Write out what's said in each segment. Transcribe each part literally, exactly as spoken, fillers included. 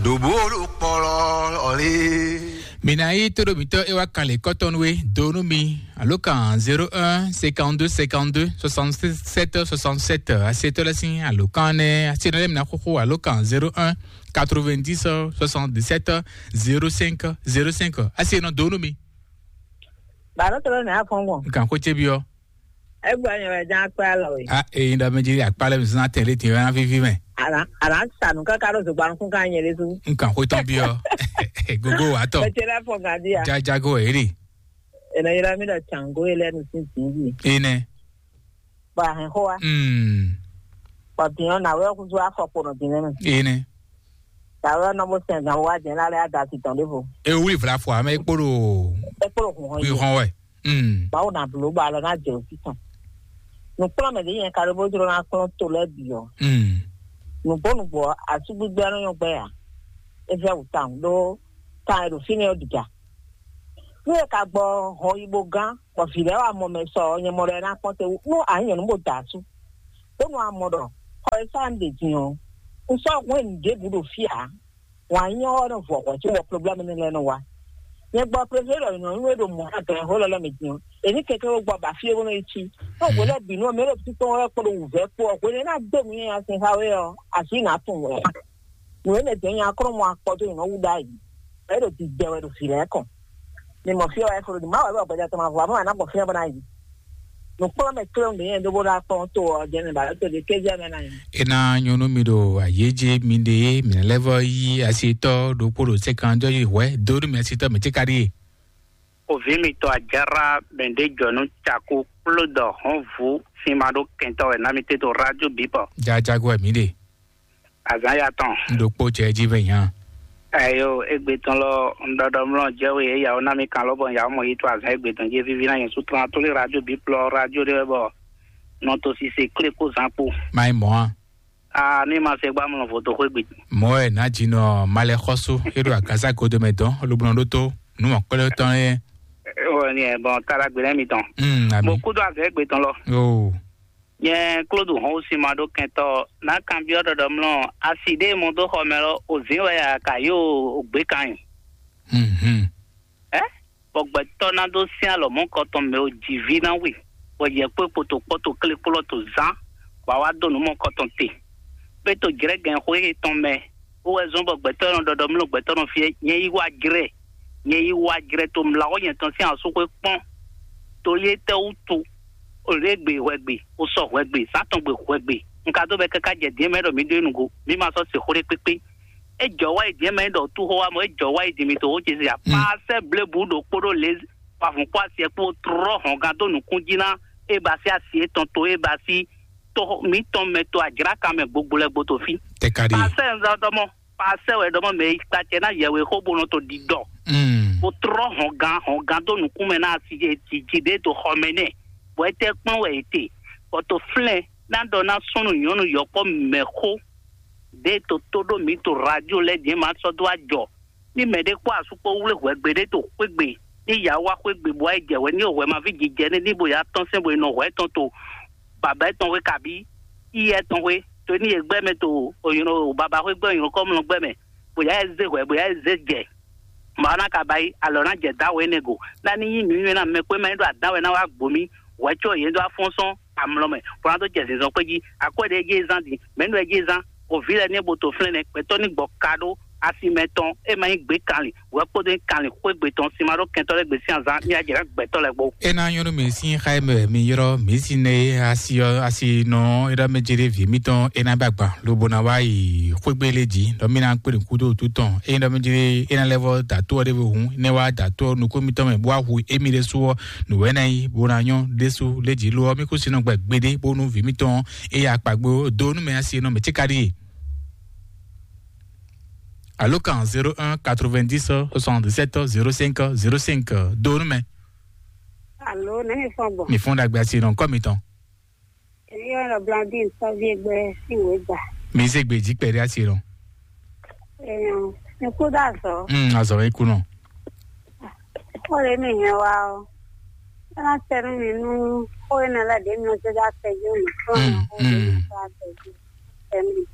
Ɖo bó ɖo kpɔlɔ ɔ́ lé. Mina yi tóɖo mǐtɔn e wá kan lě kɔ́tɔn nú we dó nú mi alo kan zéro un cinquante-deux cinquante-deux soixante-sept soixante-sept. Asetɔ lɛ sín alo kan nɛ asenɔ lɛ mina xóxó alo kan zéro un quatre-vingt-dix soixante-dix-sept zéro cinq zéro cinq. Asenɔ dó nú mi. Bàbá tó lónìí á fɔn gbɔn. Nkan xó cé byɔ́. Egbe anyɔ wɛ ján akpé alɔ we. A eyi ɖɔ mɛ jí akpá lɛ mi zɔn atɛ lé tiɛ wɛ ná víví mɛ. Àlà àlà sànù káká ɖó zògbà nukún ká nyɛ lé sú. Nkan xó tɔn byɔ́. Gogo wà tɔ. Mɛ tse lɛ fɔ gàdí à. Jajago eri. Ènà yẹlẹ mi ɖɔ tsango yẹlẹ nu sí dìbì. Enɛ. Bɔ àhìn xó wa. Mm. Bɔ dìnyɔn nà wẹ́ kúzú afɔ kponɔ dìnyɔn mɛ. Enɛ. Tàwé ɔ́ nɔ bó sɛn gǎn wá jɛ̌n lá lɛ́ɛ á da asi tɔn ɖěvo. E wlí vla fɔ amɛ kpóɖo. É kpló hùn hɔn yí. Wíhɔn wɛ. Mm. Mawu ná bló bɔ alɔ ná jɛ òsì tɔn. Nǔkplɔ́nmɛ ɖě nyɛ ka ɖó bó jló ná kplɔ́n to lɛ́ɛ bǐ ɔ́. Mm. Nǔgbó nǔgbó ɔ́, asúgbígbé ɔ́ nɔ́ nyɔ́ gbɛ́ ǎ. É vɛ́ wǔ tawun ɖó kan e ɖo fínɛ́ ɔ́ ɖiga. Nú è ka gbɔ hɔn yi bó gán, bɔ vǐ lɛ́ɛ wá mɔ mɛ sɔ ɔ́, nyɛ mɔ ɖɔ é ná kpɔ́n te wú nú a nyí nyɔ̌nu bó da asú. Bónú a mɔ ɖɔ xɔ e sá un ɖe din ɔ́, un sɔ́ hwɛ́n nǔɖébǔ ɖo fí ǎ. Wǎn nyínyɔ́ ɔ́ nɔ vɔ hwɛ̌ cóbɔ problɛ́mu énɛ́ lɛ́ɛ nɔ wá. Nyɛ gbɔ Prezidɛ́n ɖɔ nyɔ̌nu e ɖo mɔ̌ ná gɛ̌n xó lɛ́ɛ mɛ din ɔ́, è ní kɛnklɛ́n wú gbɔ ba fí e bó nɔ yi cí. Nú hwe lɛ́ɛ bǐ nú ɔ́, mɛ e ɖo títɔn lɛ́ɛ kpó ɖo wǔvɛ́ kpó ɔ́, hwenu e ná dó nǔ nyi asin xá we ɔ́, así nǎ tunwun wɛ. Nǔ énɛ́ jɛ́n nya klɔ́ mɔ akpɔ dó nyɔ̌nu wú ɖ'ayǐ. Ɛ ɖo didɛ wɛ ɖo vǐ lɛ́ɛ kɔn. Mi mɔ fí ɔ́ wɛ flo ɖi má wɛ bɔ gbɛjɛ tɔn ma vɔ, má wɛ ná gbɔ fí ɔ́ bó ná yi. Nǔkplɔ́nmɛ kléwún ɖě nyɛ ɖó bó ná kplɔ́n to ɔ́ jɛ́nɛ ba lɛ́ to ɖě kéjɛ mɛ ná yi. E ná nyɔ́ nú mi ɖo ayéjé mi ɖe mi lɛ́ vɔ yí asitɔ ɖokpó ɖo sɛ́kan jɔ yi hwɛ dó nú mi asitɔ mɛ tí ka ɖíe. Òví mitɔn Ajára mɛ ɖé jɔ nú cakú kpló dɔ hɔn vú sin ma ɖó kɛntɔ́ wɛ ná mi tɛ́ to rádió bǐ bɔ. Jajago wɛ mǐ ɖe. Azǎn ya tɔn. N ɖokpó jɛ jí vɛ nya. Ayo, égbé tɔn lɔ, un ɖɔɖɔ mlɔ jɛ we yě yawo ná mi kan lɔ bɔ yawo mɔ yi to azǎn égbé tɔn jɛ vivi ná yɛn sútrán tó lé radio bí plɔ radio ɖé wɛ bɔ nɔ to sise klé kó zán kpó. Má yi mɔ̌ a? A ní ma se gbá mlɔ vo to xwé gbe. Mɔ̌ wɛ nǎ jinɔ malɛ xɔ́sú é ɖo agaza godo mɛ dɔn lobo nɔ ɖótó nú mɔ̌kpɛ́lɛ́ tɔn é. Wɔ ni ɛ bɔn kára gbe lɛ mi tɔn. Mm, ami. Mo kú dó azǎn égbé tɔn lɔ. Yoo. Nyɛ Klódu hɔn wú sin ma ɖó kɛntɔ́ ná kanbyɔ́ ɖɔɖɔ mlɔ asi ɖé mɔ dó xɔ mɛ lɔ òzín wɛ a ka yó ògbé kan nyi. Mhm. Ɛ bɔ gbɛtɔ́ ná dó sín alɔ mɔ̌kɔtɔn mɛ o jǐví ná we, bɔ yɛ kpó kpoto kpɔ́ to klé kplɔ́ to zán, bɔ a wá dó nǔ mɔ̌kɔtɔn te. Pé to jlɛ̌gɛn xwé yětɔn mɛ, ó wɛ zɔ́n bɔ gbɛtɔ́ nɔ ɖɔɖɔ mlɔ gbɛtɔ́ nɔ fí nyɛ yí wá jlɛ́, nyɛ yí wá jlɛ́ to mlawɔ́ nyɛ tɔn sín asúxwé kpɔ́n. To yé tɛ́ wútu, o lě gbe hwɛgbe, o sɔ hwɛgbe, sátɔn gbe hwɛgbe. Un ka dó bɛ káká jɛ dǐn mɛ ɖɔ mǐ ɖó é nǔgo, mǐ ma sɔ́ se xó ɖé kpékpé. É jɔ wá yi dǐn mɛ ɖɔ tú xó wá mɔ, é jɔ wá yi dǐn mǐ to xó ce zia. Pasɛ blebu ɖo kpóɖó lě pavun kpó asiɛ kpó trɔ hɔn gán dó nukún jí ná é ba sí asi étɔn to é ba sí to mǐtɔn mɛ to ajlákan mɛ gbogbo lɛ gbo to fí. Tɛkadi. Pasɛ nzɔdɔmɔ, pasɛ wɛ dɔmɔ mɛ yi kpacɛ ná yɛwé xó bó nɔ to ɖiɖɔ. Mm. Bó trɔ hɔn gán hɔn gán dó nukún mɛ ná asi jiji ɖé to xɔ mɛ nɛ. Bɔ é tɛ kplɔ́n wɛ é te. Bɔ to flɛ́n ná ɖɔ ná súnnu nyɔ̌nu yɔkpɔ́ mɛ xó ɖé to tó ɖó mǐ to radio lɛ́ɛ din ma sɔ́ dó ajɔ. Ní mɛ ɖé kpó asú kpó wlé hwɛgbe ɖé to xwégbe, ní ya wá xwégbe bó wá yi jɛ hwɛ ní hwɛ ma ví jijɛ ní ní bo ya tɔ́n sɛn bo yi nɔ hwɛ tɔn to baba tɔn xwé kabí iyɛ tɔn xwé, to ní yě gbɛ mɛ to òyìnbó baba xwé gbɛ òyìnbó kɔmlɔ gbɛ mɛ, bó ya zé hwɛ bó ya zé jɛ. Màá ná ka ba yi alɔ ná jɛ dá wɛ énɛ́ go, ná ní nyí nǔnywɛ́ ná mɛ kpé mɛ ní ɖo adán wɛ ná wá gbǒ mì, hwɛ có yě dó afɔ́n sɔ́n amlɔ mɛ, bó ná dó jɛ zinzɔn xwé jí. Akwɛ́ ɖě jí é zán din, mɛ̌ nú ɛ jí é zán? Oví lɛ́ɛ ní é bo to flɛ́n nɛ́, gbɛtɔ́ ní gbɔ ka ɖó asi mɛ tɔn, é ma nyí gbě kanlin, hwɛ kpódó nyí kanlin xwé gbe tɔn sin ma ɖó kɛntɔ́ lɛ́ɛ gbe sín azán ní ajɛ ná gbɛtɔ́ lɛ́ɛ gbó. É ná nyɔ́ nú mi sín xá e mɛ mi ylɔ́ mǐ sín nɛ e asi ɔ́ asi nɔ é ɖɔ mɛ jɛ ɖé vǐ mítɔn é ná bɛ agban lobo ná wá yi xwégbé lé jí ɖɔ mí ná kpé ɖo kúdó wútu tɔn é ɖɔ mɛ jɛ é ná lɛ́ vɔ dǎtó ɔ́ ɖěvo hǔn é ná wá dǎtó ɔ́ nukún mítɔn mɛ bó wá hu émí ɖésú ɔ́ nǔwɛ́ ná nyí bó ná nyɔ́ ɖésú lé jí lo ɔ́ mí kú sinɔ gbɛ gbeɖé bónú vǐ mítɔn é ya kpa gbó dó nú mɛ asi nɔ mɛ cíka ɖíe. Alo kan zéro un quatre-vingt-dix soixante-dix-sept zéro cinq zéro cinq dó nú mɛ. Alo, ne mi fɔn gbɔ. Mi fɔn ɖagbe asi nɔ kɔ mitɔn. Èmi yɔ nɔ Blandine sɔvi egbe si wo gba. Mi se gbe jí kpɛɖé asi nɔ. Èèyàn, mi kú dá zɔ. Hmm, azɔ mi kú nɔ. Ó lè mi yẹn wá o. Ẹ má tẹnu mi nú ó yẹn lẹ dé mi ò ṣe dá tẹjú mi. Ó yẹn ó lè mi sọ àtẹjú. Tẹnu mi.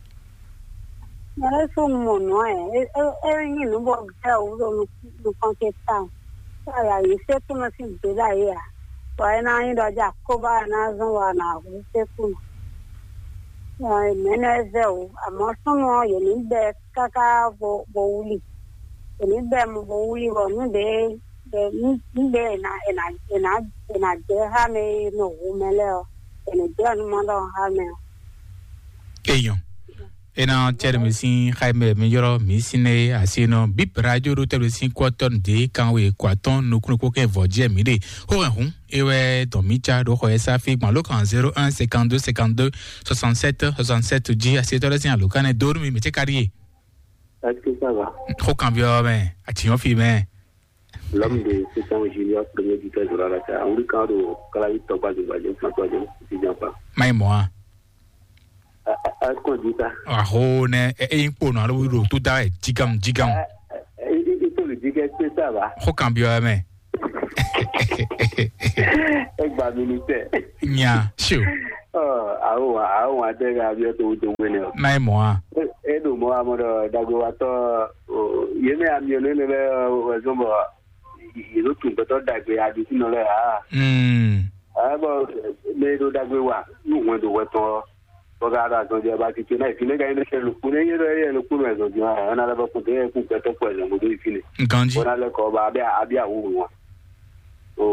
Mɛ ɖésú mɔ nǔ ɛ, é é é nyí nǔ bɔ gbɛ́ wǔ ɖo nukɔn ce tawun. Káyà yě sékúnɔ sín gběɖa é ǎ. Bɔ é ná nyí ɖɔ jí akóbá ɛ ná zɔ́n wɔ a nǎ hu sékúnɔ. Mɛ̌nɛ́ vɛ́ wǔ, amɔ̌ súnnu ɔ́, yě ní bɛ́ káká bo bo wlí. Yě ní bɛ́ mɔ bo wlí bɔ nǔ ɖě nǔ ɖě è nǎ è nǎ è nǎ è nǎ jɛ xá mɛ e nɔ hu mɛ lɛ́ɛ ɔ́, è nǐ jɛ nǔ mɔ ɖɔ xá mɛ ɔ́. Eyɔn. Ena cɛɖɛ mi sín xaimɛ mi ylɔ́ mi sín nɛ asi nɔ bip radio ɖo tɛɖɛ sín kɔtɔn dé kanwe kɔatɔn nukúnnukú kɛ vɔ jɛ mi ɖe. Xó hɛn hun ewɛ dɔn mi ca ɖo xɔ yɛ sáfí gbɔn ló kan zéro un cinquante-deux cinquante-deux soixante-sept soixante-sept jí asi tɔɖɛ sín alo kanɛ dó nú mi mɛ cɛ ka ɖi ye. Est-ce que ça va? Xó kan byɔ mɛ, ati nyɔ fi mɛ. L'homme de sept ans, Junior, premier buteur de la Rata. On lui quand au Calavi, Tokwa, Zimba, Zimba, Zimba, Zimba, Zimba. Mai moa. Est-ce qu'on dit ça? Aho ne e e kpo no alo ro tu da e jigam jigam. Il faut lui dire que c'est ça va. Ho kan bio me. Egba ministère. Nya, sure. Oh, awo awo adega bio to to wene. Mai moa. E do mo amoro dagwe wa to. Yeme amio ne ne be wezombo. Yě ɖo tun gbɛtɔ́ ɖagbe aɖisínɔ lɛ́ɛ ǎ. Mm. Ǎ bɔ mɛ e ɖo ɖagbe wa nú hwɛndo hwɛ tɔn ɔ́, bɔ ka ɖo azɔn jɛ ba titun ná ìfín nɛ́ ka nyí nɛ́ lukpó nɛ́ yé ɖɔ yé lukpó nɔ ɛzɔn din ɔ́, ɛna lɛ bɔ kún dé kún gbɛtɔ́ kpɔ ɛzɔn bó dó ìfín nɛ. Nganji. Bɔ ná lɛ kɔ ba abia abia wú wọn. O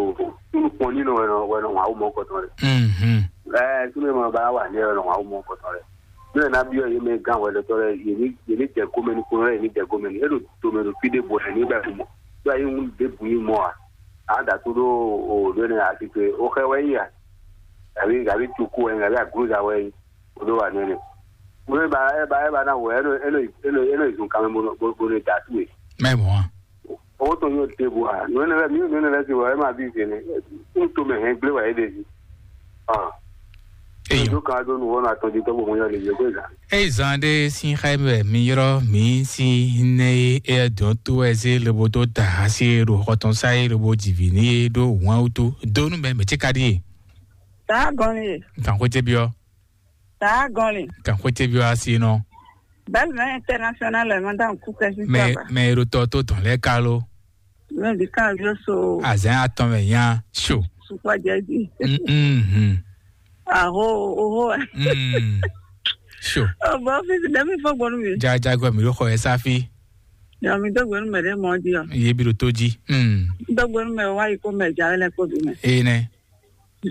nukpɔn ní nɔ wɛ nɔ wɛ nɔ wọn awo mɔ kɔtɔn rɛ. Mhm. Ɛ tún mɛ ba wà ní ɛ nɔ wọn awo mɔ kɔtɔn rɛ. Ní ɛ ná byɔ́ yé mɛ gán hwɛɖɔtɔ́ lɛ́ɛ, yě ní yě ní jɛ gómɛ nú kúnnu lɛ́ɛ, yě ní jɛ gómɛ nú. É ɖo tomɛ ɖo fí ɖěbǔ wɛ ní bɛ́ mɔ. Ɖó ayé ŋu ɖěbǔ nyí mɔ a? A da tó ɖó o ɖó ne a titwe o xɛ wɛ yí a? Gǎví gǎví cukú wɛ yí, gǎví aglúza wɛ yí, o ɖó wa nɛnɛ. Mo ní ba ɛ ba ɛ ba ná wɛ é nɔ é nɔ é nɔ é nɔ zun kanmɛ bó nɔ bó nɔ da tú e. Mɛ mɔ a? Owó tó yóò dé bu a? Nǔ énɛ́ lɛ́ɛ mí nǔ énɛ́ lɛ́ɛ sí wɔ é ma bí zě nɛ. Ń to mɛ hɛn gblé wɛ é ɖe jí. Eyɔn. Ɖo kan ɖó nu wɔnɔ atɔn jí tɔgbɔ mo yɔ lě yɔ gbé zan. Eyi zan ɖe sin xa mɛ mi yrɔ mi si ne e dɔn to ɛ zé lobo dó da asi ɖo xɔtɔn sa e lobo jivǐ ní e ɖó wǎn wútu dó nú mɛ mɛ tí ka ɖíe. Tá gɔn ni. Gǎnxó ce byɔ́. Tá gɔn ni. Gǎnxó ce byɔ́ asi nɔ. Belle mɛ international ɛ mɔ dan kú kɛ si. Mɛ mɛ e ɖo tɔ tó dɔn lɛ kalo. Mɛ bi kan vio so. Azɛn atɔn mɛ nya so. Sukpɔ jɛ di. Mhm. Aho oho. Mm. So. Ɔ bɔ ɔfisi dɛ mi fɔ gbɔnu mi. Jajagbɔ mi ɖo xɔ yɛ sáfi. Yɔ mi dó gbɛnu mɛ ɖe mɔ di ɔ. Ye bi ɖo tó jí. Mm. Dó gbɛnu mɛ wá yi kó mɛ ja lɛ kó bi mɛ. Ee nɛ.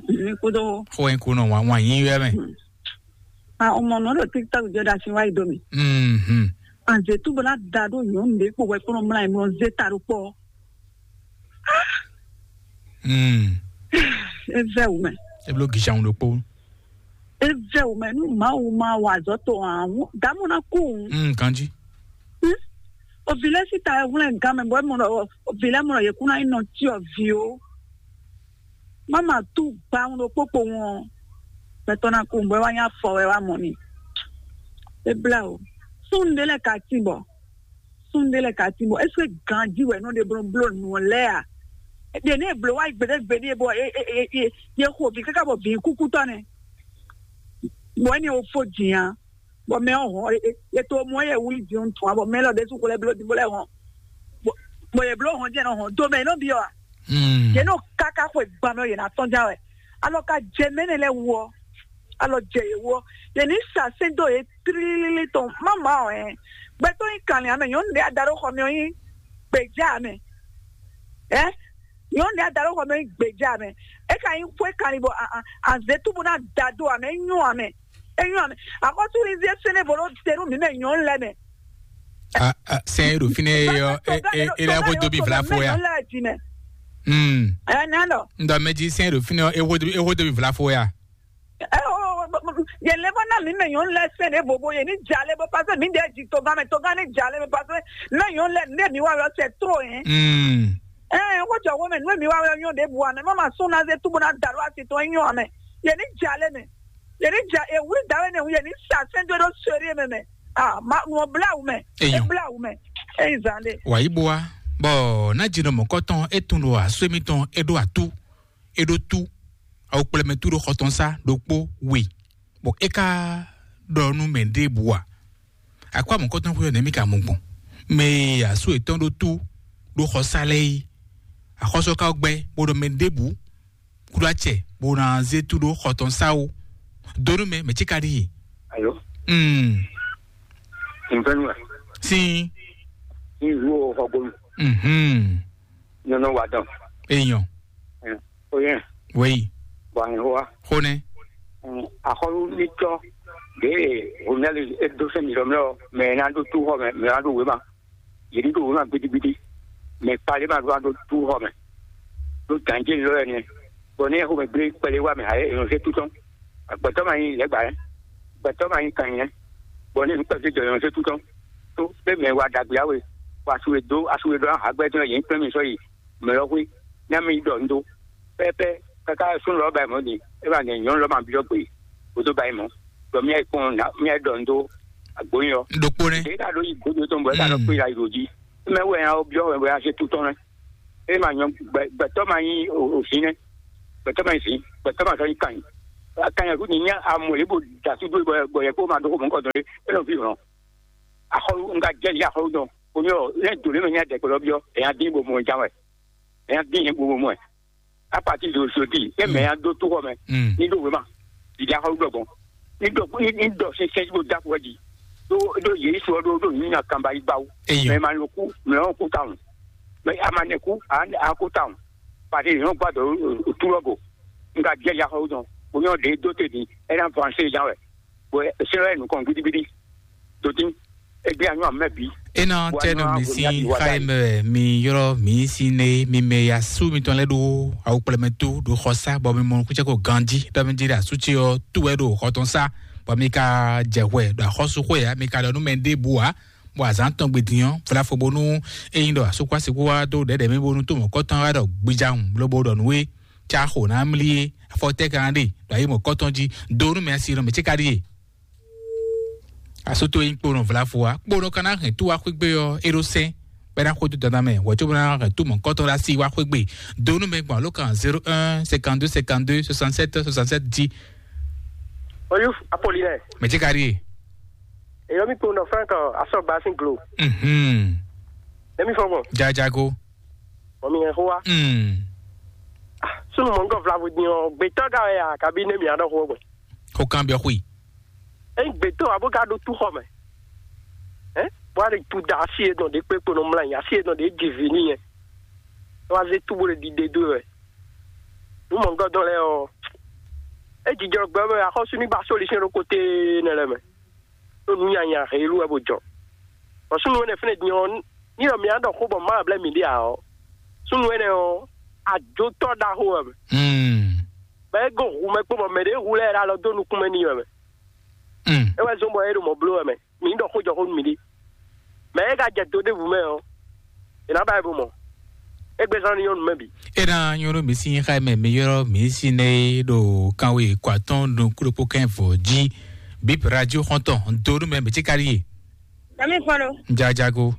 Mi kú dó. Xɔ yín kú nɔ wá wá yín yɔ mɛ. A o mɔ nɔ ɖo TikTok jɔ da si wá yi dó mi. Mhm. Anze tu bla da ɖo nyɔnu ɖe kpó wɛ kpó nɔ mla yi mɔ ze ta ɖo kpɔ. Mm. Evɛ wumɛ. Eblo gishan ɖo kpó. Evɛ wumɛ nu Mawu ma wa azɔ to awu damu na ku. Mm, kanji. Ovi lɛ si ta ɛwlɛ gan mɛ bɔ mɔ ovi lɛ mɔ yɛ kuna inɔ ti ɔ vi o. Mama tu gba ŋu ɖo kpokpo ŋu ɔ. Mɛtɔ na ku bɔ wa nya fɔ wɛ wa mɔ ni. Ebla o. Sun de lɛ ka ti bɔ. Sun de lɛ ka ti bɔ. Est-ce que ganji wɛ nɔ de blo blo nu lɛ a? De ne blo wa gbede gbede bɔ e e e e ye xo vi kaka bɔ vi kukutɔ ne. Bɔ ne o fo jin a. Bɔ mɛ ɔ hɔn e e to mɔ ye wuli jin tun a bɔ mɛ lɔ de su ko lɛ blo di bo lɛ hɔn. Bɔ ye blo hɔn jɛ nɔ hɔn do mɛ nɔ bi ɔ. Ye nɔ kaka xwe gbamɛ ye na tɔn ja wɛ. Alɔ ka jɛ mɛ ne lɛ wɔ. Alɔ jɛ ye wɔ. Ye ni sa sɛn do ye trilili tɔn mama ɔ ɛ. Gbɛtɔ yi kan ya mɛ nyɔnu de ada ɖo xɔ mɛ ɔ yi gbeja mɛ. Ɛ nyɔnu de ada ɖo xɔ mɛ yi gbeja mɛ. E ka yi xwe kan li bɔ a a a ze tubu na da do amɛ nyɔ amɛ. Enyɔ mɛ akɔsúlizie sɛnɛ bolo tenu mi mɛ nyɔnu lɛ mɛ. Sɛn e ɖo fínɛ́ e ɔ e lɛ xo dó mi vla fo ya. Ɛnɛnɔ. N dɔ mɛ jí sɛn e ɖo fínɛ́ e xo dó mi vla fo ya. Yɛn lɛ bɔ na mi mɛ nyɔnu lɛ sɛnɛ bobo yɛn ni dza lɛ bɔ paseke mi ɖe ji togan mɛ togan ni dza lɛ mɛ paseke mɛ nyɔnu lɛ ne mi wa lɔ sɛ tro yɛn. Ɛɛ wọ́n jọ wọ́n mɛ nú mi wa lɔ nyɔ ɖe bu amɛ mɔ ma sún na ze tubu na da lɔ asi tɔn nyɔ amɛ yɛn ni dza lɛ mɛ. Yě ní ja ewúrí dǎwe ní hu yě ní sa sɛ́ndó ɖó sórí mɛ mɛ. Ah, ma ŋɔ bláwù mɛ. Eyɔn. Bláwù mɛ. Eyi zan ɖe. Wàyí bo wa bɔ ná jinɔ mɔ̌kɔtɔn é tun ɖo asú émítɔn é ɖó atú é ɖó tú awu kplɛmɛ tú ɖo xɔtɔn sá ɖokpó we bɔ é ká ɖɔ nú mɛ ɖěbǔ a. Akɔ amɔ̌kɔtɔn xwé ɔ́ nɛ̌ mì ka mɔ gbɔn? Mɛ e asú yětɔn ɖó tú ɖó xɔsá lɛ́ɛ é, axɔ́sú ɔ́ ka gbɛ́ bó ɖɔ mɛ ɖěbǔ kúɖó acɛ bó ná zé tú ɖó xɔ tɔn sá ó. Dó nú mɛ, mɛ cí ka ɖíe. Alo, Mm. Nfɛnua, Sín. Nzuo Xɔgbonu, Mhm. Nyɔnɔ Wadɔn. Èèyàn. Oyè, Wéyí. Bɔ àyìn wa. Xó nɛ. Axɔlú ní tɔ, ɖe Ronel e dó sɛn mi lɔ mɛ, mɛ ná ɖó tú xɔ mɛ, mɛ ná ɖó wěma. Yě ní ɖó wěma gbidigbidi. Mɛ kpalé ma ɖó ná ɖó tú xɔ mɛ. Ɖó gǎnjé lɔ ɛnɛ. Bɔ ní xomɛ gblé kpɛlɛ wá mɛ, ayé ènɔ sé tutɔn. Gbɛtɔ́ ma nyí lɛ́gbà yɛ. Gbɛtɔ́ ma nyí kan nyɛ. Bɔ ní nukpɛ́vú jɔ ènɔ sé tutɔn. Tó pé mɛ wa ɖagbe awe. Wa asu e dó, asu e dó ahagbɛ́ tɔn yě ní kplɔ́n mi sɔ́ yi mɛ lɔ xwé. Ní mi ɖɔ un dó. Pɛ́pɛ́, káká súnnu lɔ ba yi mɔ̌ din, é ba nɛ nyɔ̌nu lɔ ma byɔ́ gbe, bó dó ba yi mɔ̌. Ɖɔ mía yi kpɔ́n nǎ, mía yi ɖɔ un dó agbóyin ɔ́. Ɖokpó nɛ́. Ɖě ka ɖó yi gbódó tɔn bɔ é ka nɔ Mm. kpé yi ɖo jí. Mɛ wɛ nya ɔ́ byɔ́ wɛ bɔ é ná zé tú tɔn nɛ́. É ma nyɔ gbɛ-, gbɛtɔ́ ma nyí o-, o vǐ nɛ́. Gbɛtɔ́ ma nyí vǐ, gbɛtɔ́ ma sɔ́ nyí kan nyi. Kan nyi kú nyi nyá amɔ lě bó da súdó bɔ, bɔ yɛ kó ma dó xó mɔ̌ kɔ dɔn lé, é nɔ ví hlɔn. Axɔlu, un ka jɛ yí axɔlu dɔn. Omi ɔ, lɛ do lé mɛ nya dɛ kpɛlɛ byɔ́, ɛ nya dín bo mɔ ján wɛ. Ɛ nya dín bo mɔ ɛ. Apati do sodi, e mɛ ya do to xɔ mɛ. Mm. Ni do wema. Didi axɔ gbɔ gbɔn. Ni do ni ni do se se bo da ko ji. Do do Yesu do do ni na kamba igbawo. Eyo. Mɛ ma lo ku, mɛ o ku taun. Mɛ a ma ne ku, a a ku taun. Pati ni o gba do o tu lɔ go. Nga jɛ ya xɔ dɔn. O nyɔ de do te di, e na vanse ja wɛ. Bɔ sɛlɛ nukɔn gbidigbidi. Dodin, egbe anyɔ amɛ bi. Ena tɛ no mi si xa yi mɛ mi yɔrɔ mi si ne mi mɛ ya su mi tɔn lɛ ɖo awu kplɛmɛ to ɖo xɔ sa bɔ mi mɔ kutsɛ ko ganji ɖɔ mi di ɖe asu tsi ɔ tu wɛ ɖo xɔ tɔn sa bɔ mi ka jɛ hwɛ ɖo axɔsu xɔ ya mi ka ɖɔ nu mɛ ɖe bu wa bɔ azan tɔn gbe din ɔ fla fo bonu eyin ɖɔ asu kɔ asi kó wa do ɖɛɖɛ mi bonu to mɔ kɔtɔn wa ɖɔ gbidza ŋu lobo ɖɔ nu we tsa xo na mli ye afɔ tɛ kan ɖe ɖo ayi mɔ kɔtɔn ji do nu mɛ asi nɔ mɛ tsi ka ɖi ye. Asoto yi kponɔ vlavo wa kponɔ kana hɛn tu wa xwegbe ɔ eɖo sɛn bɛ na xo tu dada mɛ wɔ tso bɛ na hɛn tu mɔ kɔtɔ la si wa xwegbe donu mɛ gbɔn alo kan zéro un cinquante-deux cinquante-deux soixante-sept soixante-sept dix. Oyu Apollinaire. Mɛ tsi ka ɖi ye. Eyɔ mi kponɔ Frank asɔ gba sin glo. Mhm. Emi fɔ gbɔn. Jajago. Mɔ mi hɛn xó wa. Mm. Sunu mɔ ŋgɔ vlavo din ɔ gbetɔ ga wɛ ya kabi ne mi aɖɔ xó gbɛ. Xó kan biɔ xui. Eyin gbetɔ abo ka ɖo tu xɔ mɛ. Ɛ bɔ ale tu da asi yɛ dɔn ɖe kpe kpo nɔ mla nyi asi yɛ dɔn ɖe dzi vi ni yɛ. Wa ze tu bo le ɖiɖe do wɛ. Nu mɔ ŋgɔ dɔn lɛ ɔ. E jijɔ gbɛ mɛ axɔsu ni ba solution ɖo kote ne lɛ mɛ. Ɖo nu nyanya helu wɛ bo jɔ. Bɔ sunu wɛ ne fɛnɛ din ɔ, ni ɖɔ mi aɖɔ xó bɔ ma blɛ mi ɖe a ɔ. Sunu wɛ ne ɔ, ajotɔ ɖaxo wɛ mɛ. Mm. Bɛ e go hu mɛ kpo bɔ mɛ ɖe hu lɛ ɖe alɔ do nukún mɛ ni wɛ mɛ. Mm. E wɛ zɔn bɔ e ɖo mɔ blo wɛ mɛ. Mi ɖɔ xó jɔ xó nú mi ɖi. Mɛ e ka jɛ do ɖevu mɛ ɔ, e na ba e bo mɔ. E gbɛ zan ni nyɔnu mɛ bi. Ena nyɔnu mi si xa mɛ mi yɔrɔ mi si ne ɖo kanwe kɔ atɔn ɖo kuɖokpo kɛn vɔ ji. Bip radio xɔntɔn do ɖo mɛ mi tsi ka ɖi ye. Dami kɔnɔ. Jajago.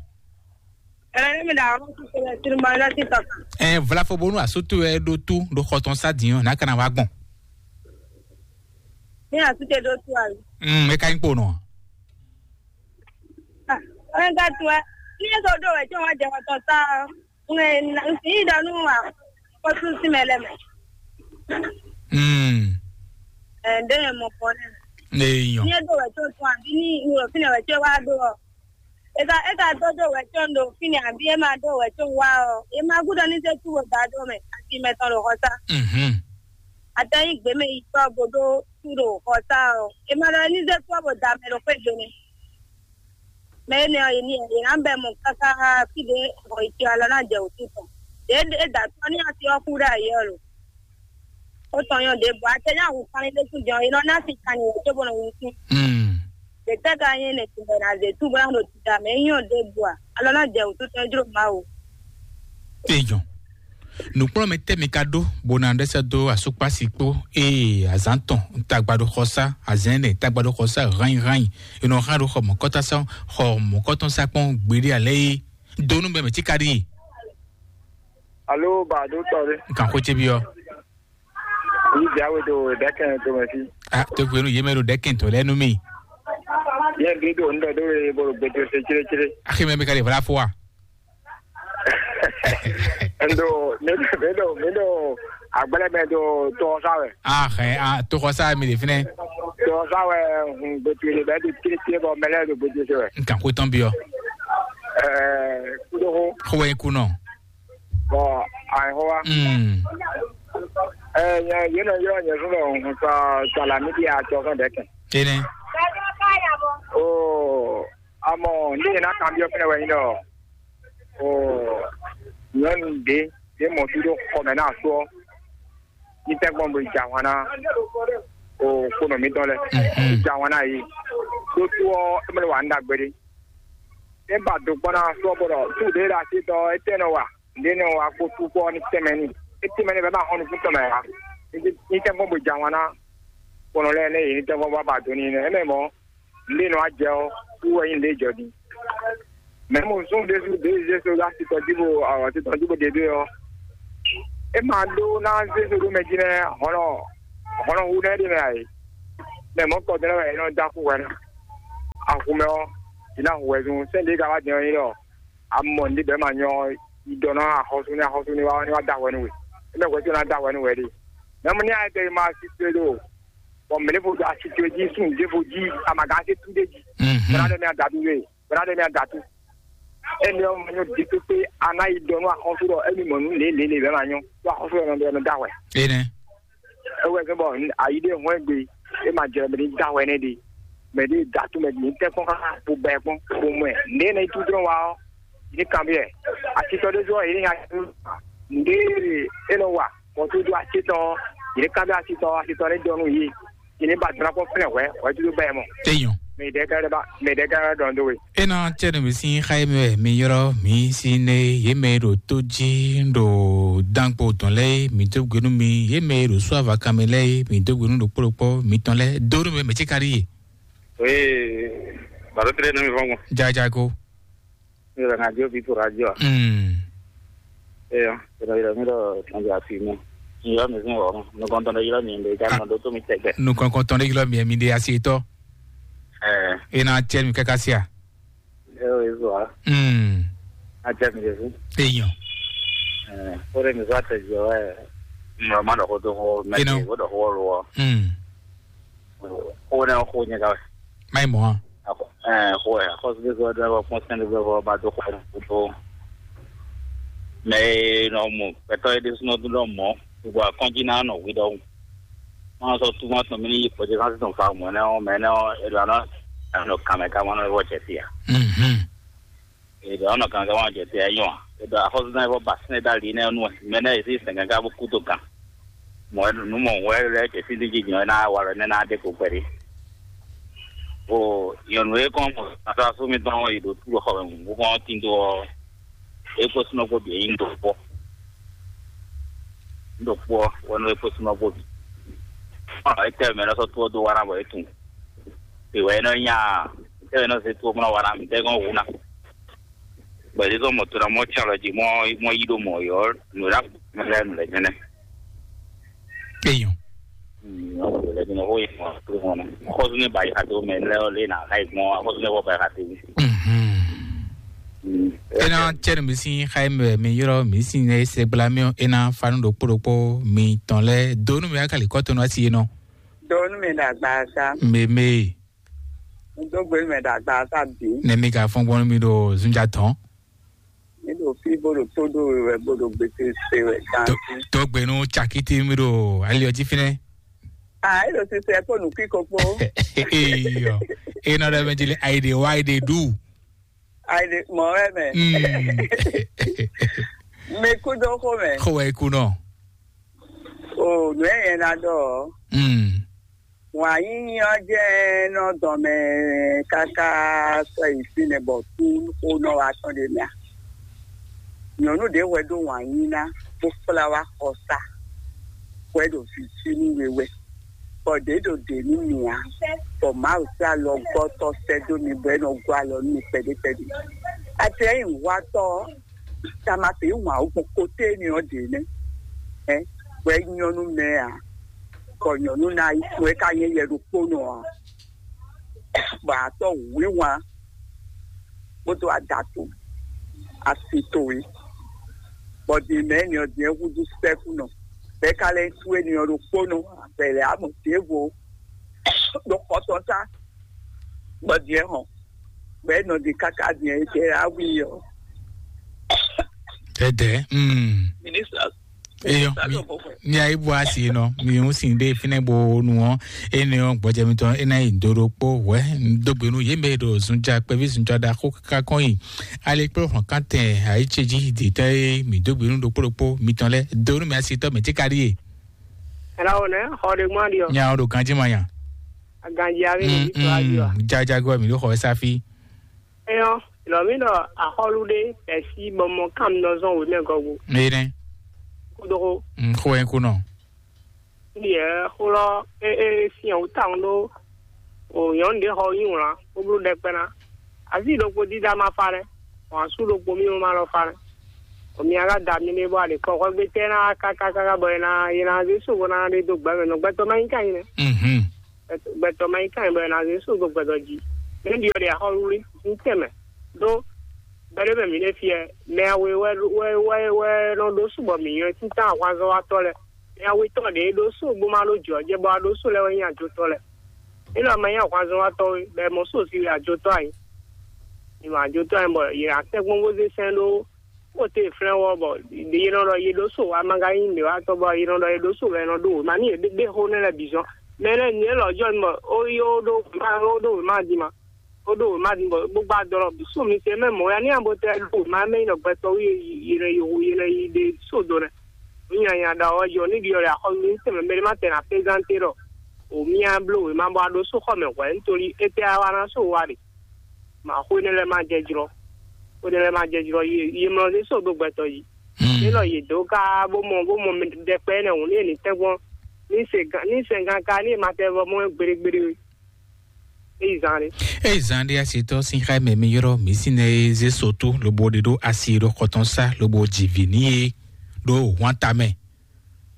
Ɛlɛ ne mi da ɔrɔ tu kele tiri ma la ti tɔ kan. Ɛ vlafo bonu asoto ɛ ɖo tu ɖo xɔtɔn sa diɔ na kana wa gbɔn. Ni asute ɖo tu ayi. Mm, e ka nyi kpo nɔ. Ah, ɔn ka tu ɛ. Ni e so ɖo wɛ tí wọn jẹ wọn tɔ sa. Ŋɛ ŋsi yi ɖɔ nu wa. Kɔ tu si mɛ lɛ mɛ. Mm. Ɛ ɖe yɛ mɔ kɔ nɛ. Ne yɔ. Ni e ɖo wɛ tó tún àbí ní ìwòrò fínɛ wɛ tí wàá ɖó ɔ. Eka eka dó dó wɛ tó ń ɖo fínɛ àbí e máa dó wɛ tó ń wá ɔ. E máa gúdɔ ní sẹ́ tú wò dá dó mɛ àti mɛ tɔn ɖo xɔ sá. Mhm. Àtẹ̀yìn gbé mɛ yìí tọ́ bó dó tú ɖo xɔ sá ɔ. E máa ɖɔ ní sẹ́ tú ɔ bó da mɛ ɖo xwé do nɛ. Mɛ énɛ́ ɔ́, yě ní yě ná bɛ́ mɔ káká fí ɖě bɔ è cyɔ alɔ ná jɛ wǔtu tɔn. Ɖě é da tɔ́ ní asi ɔ́ kú ɖó ayǐ ɔ́ lo. Ó tɔn nyɔ́ ɖěbǔ, a tɛ ní awu kanlin ɖésú jɔn, è nɔ ná sin kanlin wǒ cóbó nɔ wuntun. Mm. Ɖě tɛ́ ka nyí nɛ̌ tɔn bɔ è nǎ zě tú bó ná ɖo tita mɛ? É nyɔ́ ɖěbǔ a? Alɔ ná jɛ wǔtu tɔn jló Mawu. Eyɔn. Nǔkplɔ́nmɛ tɛ́ mi ka ɖó bó ná ɖɛ́ sɛ́ dó asúkpási kpó ée azǎn tɔn tagba ɖo xɔ sá, azɛ̌n nɛ tagba ɖo xɔ sá hányi hányi, è nɔ hán ɖo xɔ mɔ̌kɔ́tɔn sá, xɔ mɔ̌kɔ́tɔn sá kpɔ́n gbeɖé alɛ́ é dó nú mɛ mɛ cí ka ɖi. Alo, ba do tɔ ɖe. Kan xó ce byɔ́. Yi jawe do ɖɛkɛn to mɛ fi. Ah, to gbenu yé mɛ ɖo ɖɛkɛn to lɛ nú mi. Nyɛ ɖi ɖo ŋɖɛ ɖo e bo ɖo gbedo se cléclé. Axi mɛ mi ka ɖe vla fo wa? Ndo mi ɖo mi ɖo mi ɖo agbɛlɛ mɛ ɖo tɔxɔsa wɛ. Ah, xɛ, ah, tɔxɔsa mi ɖe fínɛ. Tɔxɔsa wɛ hun gbedo le bɛ ɖo cléclé bɔ mɛ lɛ ɖo gbedo se wɛ. N kan ko tɔn biɔ. Ɛɛ, kudo ho. Xo wɛ ku nɔ. Bɔ ayi ho wa. Mm. Ɛɛ, nyɛ yɛ nɔ yɔ nyɛ fún bɛ hun sa sa la mi di atɔ fún dɛ kɛ. Ene. Oh. Amɔ ní e ná kanbyɔ́ fɛnɛ wɛ nyí ɖɔ o nyɔ̌nu ɖě ɖě mɔ fí ɖó xɔ mɛ ná asú ɔ́, ní tɛ́ gbɔn bo yi jɛ ahwan ná o kponɔ mǐtɔn lɛ́ɛ. Mhm. Yi jɛ ahwan ná yě. Ɖó sú ɔ́, é mɛ wa nú ɖagbe ɖé. É ba do kpɔ́n ná asú ɔ́, bó ɖɔ sú ɖě ɖo así tɔn ɔ́, étɛ́ nɔ wa? Nǔɖé nɔ wa kpó sú kpɔ́ ní tɛnmɛ n'i. É tɛnmɛ n'i bɔ é ma xɔ nukún tɔn mɛ ǎ. Ní tɛ́ gbɔn bo jɛ ahwan ná kponɔ lɛ́ɛ nɛ́ yě ní tɛ́ gbɔn bó ba do n'i nɛ́. É mɛ mɔ̌, nǔɖé nɔ wá jɛ ɔ́, wú wɛ nyí nǔɖé jɔ din. Mɛ mo zɔ́n ɖésú ɖě zé so ɖó asitɔ jí bo asitɔ jí bo ɖe ɖé ɔ́, é ma ɖó ná zé so ɖó mɛ jí nɛ́ hɔnɔ hɔnɔ hu nɛ́ ɖé mɛ ǎ é. Mɛ mɔ̌ kɔ dɛ́ wɛ é nɔ dó axú hwɛ ná. Axu mɛ ɔ́, jí ná hu wɛ zun sɛ́n ɖě ka wá din ɔ́ nyí ɖɔ amɔ nǔɖé bɛ́ ma nyɔ yi ɖɔ ná axɔ́sú ní axɔ́sú ní wá ní wá dó ahwɛ nú we. É mɛ hwɛ tó ná dó ahwɛ nú wɛ ɖe. Mɛ mo ní ayɛ tɛ ma asitɔ ɖo bɔ mɛ ɖěvo ɖo asitɔ jí sun ɖěvo jí amaga ase tú ɖé jí. Mhm. Bɛ́ ná ɖe mɛ adadu we. Bɛ́ ná ɖe mɛ adatu. Émi ɔ́, ma nyɔ di pépé, a ná yi ɖɔ nú axɔ́sú ɖɔ émi mɔ nǔ lě lě lě bɛ́ ma nyɔ. Ɖó axɔ́sú ɔ́ nɔ ɖɔ nɔ dó ahwɛ. Ene. É wɛ zɔ́n bɔ ayi ɖé hɔn gbe, é ma jɛ mɛ ɖé dó ahwɛ nɛ́ ɖe. Mɛ ɖé datu mɛ ɖé tɛ́ kpɔ́n xá bo bɛ kpɔ́n bo mɔ ɛ. Nǔɖé nɔ yi tún dɔn wa ɔ́, ní kanbyɔ́ ɛ. Asitɔ ɖé zɔ́ yě ní nya nǔɖé é nɔ wa. Mɔ̌ tó dó acé tɔn, yě ká dó acé tɔn, acé tɔn lɛ́ dɔn nú yě. Yě ní ba dɔn kpɔ́n fɛ́nɛ hwɛ̌, hwɛ̌ dúdú bá ɛ mɔ. Téèyàn. Mɛ ɖɛ̌ ká lɛ́ ba, mɛ ɖɛ̌ ká lɛ́ dɔn dó we. É ná cɛ́ nú mi sín xá e mɛ wɛ mi ylɔ́ mǐ sín é, yě mɛ e ɖo tó jí ɖo dánpo tɔn lɛ́ɛ, mǐ dó gbe nú mi, yě mɛ e ɖo sú avakan mɛ lɛ́ɛ, mǐ dó gbe nú ɖokpó ɖokpó mitɔn lɛ́ɛ, dó nú mi mɛ cíkaɖí e. Oui, baro tɛ́ nɔ mi vɔn gbɔn. Jajago. Mi ɖɔ radio bi to radio a? Mm. Eya, mi ɖɔ mi ɖɔ tɔnjɔ afi mi. Mi ylɔ́ mi sín wɔ̌ mɔ. Nukɔntɔn ɖé ylɔ́ mi ɖe, ja nɔ ɖó tó mi tɛgbɛ. Nukɔntɔn ɖé ylɔ́ mi, mi ɖe asi tɔ. Ɛɛ. E na cɛ mi kaka sia. E o ezo a. Mm. A cɛ mi ɖe fún. Eyɔn. Ɛɛ, o ɖe mi sɔ atɛ jɔ wɛ. Mɔ ma ɖɔ ko to ko mɛ. Eno. Ko ɖɔ ko lo. Mm. O ne ko nyɛ ka. Mai mɔ. Ɛɛ, xo ɛ, axɔ́súɖuɖu ɔ́ ɖɔ kpɔ́n sɛn ɖé vɔ ba dó xɔ ɛ ɖo. Mɛ e nɔ mɔ gbɛtɔ́ é ɖésúnɔ dún ɖɔ mɔ̌, gbogbo akɔ́njí ná nɔ hwi ɖɔhun. Má sɔ́ túmọ̀ tɔn mì ní yi pɔ́jɛ kánsí tɔn fa mɔ̌ nɛ́ ɔ́, mɛ nɛ́ ɔ́, è ɖo anɔ anɔ kan mɛ ká má nɔ vɔ jɛ fí ǎ. Mhm. È ɖo anɔ kan ká má jɛ fí ǎ nyɔ ǎ. È ɖo axɔ́súɖuɖu vɔ ba sɛn ɖó ali nɛ́ ɔ́ nú wɛ. Mɛ nɛ́ è sí sɛn gángan bó kú dó gǎn. Mɔ̌ wɛ nǔ mɔ wɛ lɛ́ jɛ fí díjí nyɔ̌ ná wa lɔ nɛ́ ná ɖe kpo kpɛɖé. O nyɔ̌nu e kɔn mɔ asɔ́ mitɔn e ɖo tú xɔ mɛ bó kɔn tín dó ɔ́, é kpó súnɔ kpó bǐ é nyí ɖokpó. Ɖokpó ɔ́ wɛ nɔ é kpó súnɔ kpó bǐ. Ɔ é tɛ mɛ lɔ sɔ́ tó ɔ́ dó wa ná bɔ é tunwun. È wɛ é nɔ nya tɛ mɛ nɔ zé tó mɔ wa ná mi tɛ gɔn wu ná. Bɔ é zɔn mɔ to ná mɔ tsin alɔ jí mɔ mɔ yí ɖo mɔ yɔ nǔ ɖa mɛ lɛ nǔ lɛ jɛnɛ. Eyɔn. Xɔzu ne ba yi xa to mɛ lɛ ɔ le na xa yi gbɔn xɔzu ne wɔ ba yi xa to. Mhm. Ena tsɛ nu mi si xa yi mɛ mi yɔrɔ mi si ne se gbla mi ena fanu ɖokpo ɖokpo mi tɔn lɛ do nu mi akali kɔ to nu asi nɔ. Do nu mi na gba sa. Meme. Do gbe mi na gba sa bi. Ne mi ka fɔn gbɔn mi ɖo zunja tɔn. Mi ɖo fí bó ɖo tó ɖó we wɛ bó ɖo gbèsè se wɛ gansi. Tó gbenu tsakiti mi ɖo ali ɔtí fínɛ. Ah, e ɖo sise kó nukí kokpo. Eyɔ. Ena ɖe mɛ dzi le ayi ɖe wa ayi ɖe ɖu. Ayi ɖe mɔ wɛ mɛ. Mm. Mi kú dó xó mɛ. Xó wɛ kú nɔ. O nù ɛ yẹn na ɖɔ. Mm. Wǎn yíyí ɔ́ jẹ́ nɔ dɔn mɛ káká sɔ́ yi fínɛ́ bɔ kú xó nɔ wá tɔn ɖe mɛ a? Nyɔ̌nu ɖě hwɛ ɖó wǎn yí ná bó kplá wá xɔsá hwɛ ɖo vǐ cí nú we wɛ, bɔ ɖě ɖo ɖě nú mì ǎ, bɔ Mawu sín alɔgɔ́tɔ́ sɛ́ dó mi bɔ é nɔ gɔ́ alɔ nú mi kpɛɖé kpɛɖé. Atlɛ́nyihwatɔ́ ɔ́, Tamate wǎn wú gbɔn koté énɛ́ ɔ́ ɖě nɛ́. Ɛ, hwɛ nyɔ́ nú mɛ ǎ, bɔ nyɔ̌nu ná yi kún ɛ ká nyɛ yɛ ɖokpónɔ ǎ. bɔ a tɔ́ wǐwán kpódó adatu asi towe, bɔ din mɛ ni ɔ́ din ɛ húzú sɛ́kúnɔ, bɛ́ ka lɛ́ sú éni ɔ́ ɖokpónɔ abɛlɛ amɔ ɖěvo ɖo xɔtɔn sá, bɔ din ɛ hɔn, bɔ é nɔ din káká din ɛ é tɛ awi ɔ́. Ɛdɛ. Mm. Minister. Eyo. Minister mi lɔ bɔ fɛ. Mi ayi bu asi nɔ mi ŋu sin de fínɛ bo nu ɔ ene ɔ gbɔjɛ mi tɔn ena yi do ɖokpo wɛ. Dogbenu ye mɛ ɖo zunja kpɛvi zunja da xo kaka kɔn yi. Ale kple hɔn kantɛ ayi tse ji di tɛ ye mi dogbenu ɖokpo ɖokpo mi tɔn lɛ do nu mi asi tɔ mɛ tse ka ɖi ye. Ɛlɔ wò nɛ xɔ ɖe gbɔn ɖi ɔ. Nya o ɖo ganji ma nya. Aganji avi mi tɔ ayi wa. Jajago mi ɖo xɔ safi. Eyɔn, lɔmínɔ axɔlu ɖé bɛsí bɔ mɔ kam nɔ zɔn wěmɛ gɔgbo. Ene. Kúdókó. Xó ɛ kú nɔ. Yɛ xó lɔ é é syɛn wú tawun ɖó o nyɔ̌nu ɖé xɔ nyi wlǎn bó bló ɖɛkpɛ ná. Azí ɖokpó dídá ma fa lɛ́, wǎn sú ɖokpó mí ma lɔ fa lɛ́. O mi aga da mi ɖé bɔ a ɖe kɔ xɔ gbé tɛ ná kákákáká bɔ è nà è nà zé sóbó ná ɖe dó gbɛmɛ nɔ gbɛtɔ ma nyí ká nyí nɛ. Mhm. Gbɛtɔ ma nyí ká nyí bɔ è nà zé sóbó gbɛtɔ jí. Mɛ ɖi ɔ ɖe axɔlu rí ní tɛmɛ ɖó gbɛɖé mɛ mǐ ɖe fiɛ mɛ awe wɛ wɛ wɛ wɛ nɔ ɖó sóbɔ mǐ nyɔ́ títán ahwanzɔ́watɔ́ lɛ. Mɛ awetɔ́ ɖě ɖó sóbó ma ɖó jɔ̌ jɛ bɔ a ɖó só lɛ wɛ nyí ajotɔ́ lɛ. Élɔ́ ma nyí ahwanzɔ́watɔ́ we bɔ è mɔ sósi wɛ ajotɔ́ a nyí. È mɔ ajotɔ́ a nyí bɔ yě ná tɛ́nkpɔ́n bó zé sɛn ɖó xóte flɛ́n wɔ bɔ yě nɔ ɖɔ yě ɖó so wá ma ka nyí nǔɖéwatɔ́ bɔ yě nɔ ɖɔ yě ɖó so wɛ è nɔ ɖó wěma n'i yě ɖé xó nɛ́ lɛ́ɛ bǐ zɔ́n. Mɛ lɛ́ɛ nyǐ élɔ́ jɔ mɔ ó yi ó ɖó wěma ó ɖó wěma din ma, ó ɖó wěma din bɔ bó gbá dɔlɔ bǐ so mi se mɛ mɔ̌ ya ní abo tɛ ɖó wěma mɛ nyí ɖɔ gbɛtɔ́ wí yě nɔ yi hu yě nɔ yi ɖe so do nɛ. Nǔ nyanya ɖɔ ɔ́ jɔ ní ɖi ɔ́ ɖe axɔ́ mi tɛmɛ mɛ ɖé ma tɛ na plézanté ɖɔ o mía bló wěma bɔ a ɖó so xɔ mɛ hwɛ̌ nítorí étɛ́ á wá ná so wa ɖe. Mǎ xó énɛ́ lɛ́ɛ ma jɛ jlɔ́. Xó énɛ́ lɛ́ɛ ma jɛ jlɔ́. Yě yě mlɔ zé sódó gbɛtɔ́ jí. Élɔ́ yě dó ká bó mɔ bó mɔ mɛ ɖɛkpɛ énɛ́ hǔn ní ní tɛ́ngbɔ́n ní se gán ní sɛngán ká ní ma tɛ vɔ mɔ gbeɖé gbeɖé. É yi zán ɖé. É yi zán ɖé asitɔ sín xá mɛ mi ylɔ́ mǐ sín nɛ e zé sotú lobo ɖe ɖó asi ɖo xɔtɔn sá lobo jivǐ ní e ɖó hwán tamɛ.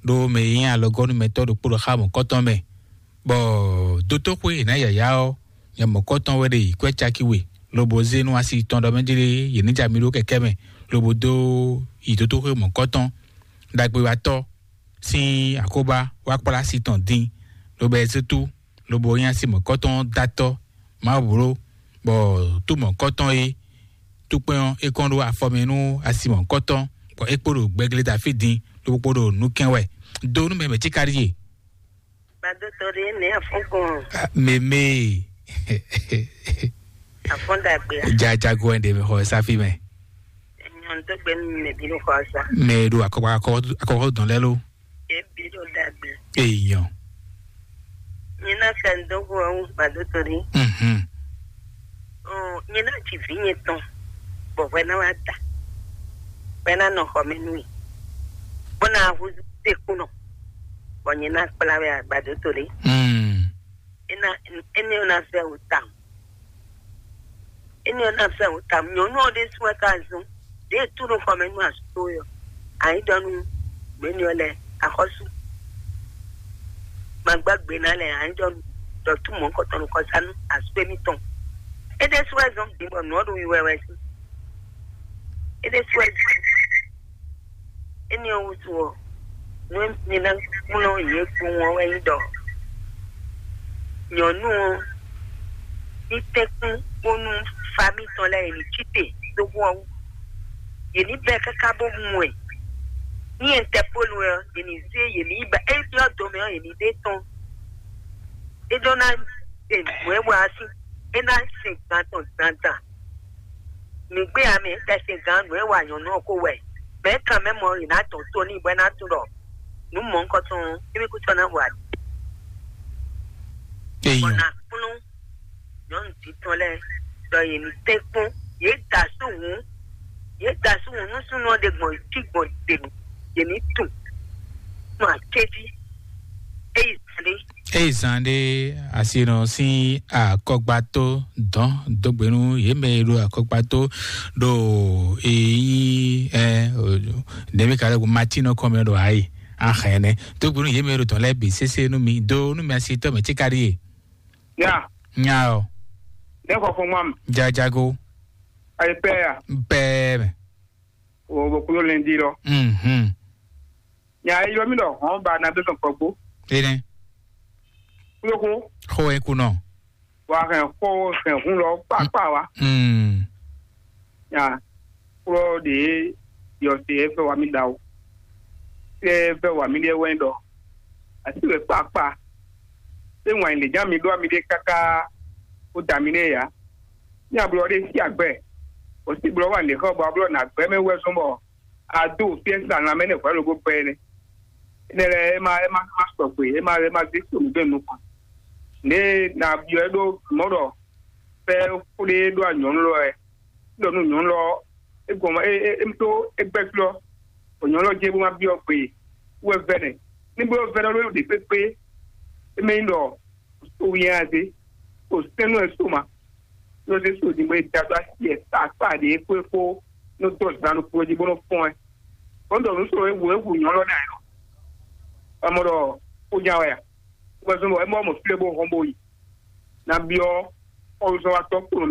Ɖó mɛ e nyí alɔgɔ́númɛtɔ́ ɖokpó ɖo xá mɔ̌kɔtɔn mɛ, bɔ dótóxwé e nǎ yǎyá ɔ́, nya mɔ̌kɔtɔn wɛ ɖe yi kwɛ́ caki we, lobo zé nú asi tɔn ɖɔ mɛ jlé yě ní ja mi ɖó kɛkɛ́ mɛ, lobo dó yi dótóxwé mɔ̌kɔtɔn ɖagbe wá tɔ́ sín akóbá wá kplá asi tɔn din, lobo ɛ zé tú, lobo nyí asi mɔ̌kɔtɔn dó atɔ́ Mawu bló, bɔ tú mɔ̌kɔtɔn e túkpɛn ɔ́ é kɔn ɖó afɔ mɛ nú asi mɔ̌kɔtɔn, bɔ é kpo ɖo gbɛglé Dafídi din, lobo kpo ɖo nǔ kɛn wɛ. Do nú mɛ mɛ cíka ɖíe. Gbadotɔ ɖé nɛ afɔgɔn. Meme. Afɔn dagbe. Jajago ɛn de mi xɔ safi mɛ. Nyɔn tó gbé mi mɛ bí ló xɔ sa. Mɛ ɖo akɔkɔ akɔkɔ dɔn lɛ lo. Ebi ɖo dagbe. Eyɔn. Nyina sɛ ŋdɔgbo ɔ́ ŋu gbadotɔ ɖé. Mhm. Ɔ, nyina tsi vi nyɛ tɔn. Bɔ hwɛ na wa da. Hwɛ na nɔ xɔ mɛ nui. Bɔ na hu te kunɔ. Bɔ nyina kpla wɛ gbadotɔ ɖé. Mm. Ena ene na fɛ o tam. Ene na fɛ o tam. Nyɔnu ɔ ɖe sue ka zun. Ɖe tu ɖo xɔ mɛ nú asu to yɔ. Ayi dɔ nu. Mɛ ni ɔ lɛ. Axɔsu. Magba gbe na lɛ ayi dɔ nu. Dɔ tu mɔ kɔtɔ nu kɔsa nu asu emi tɔn. Ede sue zɔn bi bɔ nɔ ɖo yi wɛwɛ si. Ede sue zɔn. Ene ɔ wutu ɔ. Nú mi na kplɔ́n yě kpowun ɔ́ wɛ nyí ɖɔ nyɔ̌nu ɔ́ ní tɛ́nkpɔ́n bónú famí tɔn lɛ́ɛ yě ní cí te dó hu ɔ́ wú. Yě ní bɛ́ káká bó mu ɛ. Ní Ɛntɛpólu ɔ́, yě ní zé yě ní yi ba é byɔ́ do mɛ ɔ́, yě ní ɖe tɔn. É ɖó ná se nǔ e wa ɔ́ sín, é ná sin gan tɔn dandan. Nǔgbé ame tɛsɛngán nǔ e wa nyɔ̌nu ɔ́ ko wɛ. Mɛ kan mɛ mɔ yě ná dɔn tó n'i bɔ é ná tunwun ɖɔ nǔ mɔ̌hunkɔtɔn ɔ́, émí kútɔ́ ná wa. Eyɔn. Bɔ ná kplɔ́n nyɔ̌nu dǐtɔn lɛ́ɛ ɖɔ yě ní tɛ́nkpɔ́n, yě da asú hǔn, yě da asú hǔn nú súnnu ɔ́ ɖe gbɔn cí gbɔn ɖe mɛ, yě ní tunwun. Nɔ akéjí. Eyi zan ɖé. Eyi zan ɖé asinɔ sín akɔgbató dɔn dógbenu yě mɛ e ɖo akɔgbató ɖo eyi ɛ nɛmi ka lɛ ko matinɔ kɔmɛ ɖo ayi ahɛnɛ dógbenu yě mɛ e ɖo dɔn lɛ bi sese nú mi do nú mi asitɔ mɛ tíka ɖi ye. Ya. Nya ɔ. Nɛ̌ xɔ fɔ́n ŋmá mi? Jajago. Ayé pɛ́ ya. Bɛɛ mɛ. O bɔ kúrò lɛ́n dí lɔ. Mhm. Nya e ylɔ́ mì ɖɔ hɔn ba na bɛ sɔn kɔgbó. Ene. Kúlókó. Xo e kunɔ. Wa hɛn xó hɛn hun lɔ kpákpá wa. Mm. Nya kúrò ɖe yɔ se e fɛ wa mi da o. Se e fɛ wa mi ɖe wɛ ɖɔ. Asi wɛ kpákpá. Se ŋwa yi lè nya mi ɖo ami ɖe káká. O da mi ɖe ya. Nya blɔ ɖe si agbɛ. O si blɔ wa lè xɔ bɔ a blɔ na gbɛ mɛ wɛ sɔn bɔ. A do fiesta na mɛ ne hwɛ lobo gbɛ ne. Ne lɛ e ma e ma ma sɔgbe, e ma e ma zé so nu gbɛ nu kɔn. Ne na biɔ e ɖo mɔ ɖɔ fɛ kúɖe ɖo anyɔnu lɔ ɛ. Ɖɔ nu nyɔnu lɔ e gɔn e e e to e gbɛ glɔ. O nyɔnu lɔ je bo ma biɔ gbe. Wɛ vɛ ne. Ni bo vɛ ɖɔ ɖo ɖe kpekpe. E mɛ nyi ɖɔ o yɛn aze. O sɛnu e so ma. Yosef ɖi mɛ e da dó asi ɛ kpakpa ɖě xwé xó nú dó zan ɖokpó jí bó nɔ́ fɔ́n ɛ. Bó ɖɔ nǔ sɔ́ ewu ewu nyɔ̌lɔ́ ná ɛ nɔ. Amɔ ɖɔ xó nya wɛ a? Wɛ zɔn bɔ é mɔ mɔ flé bó hɔn bó yi. Na byɔ́ xɔlùsɔ́watɔ́ kplɔ́n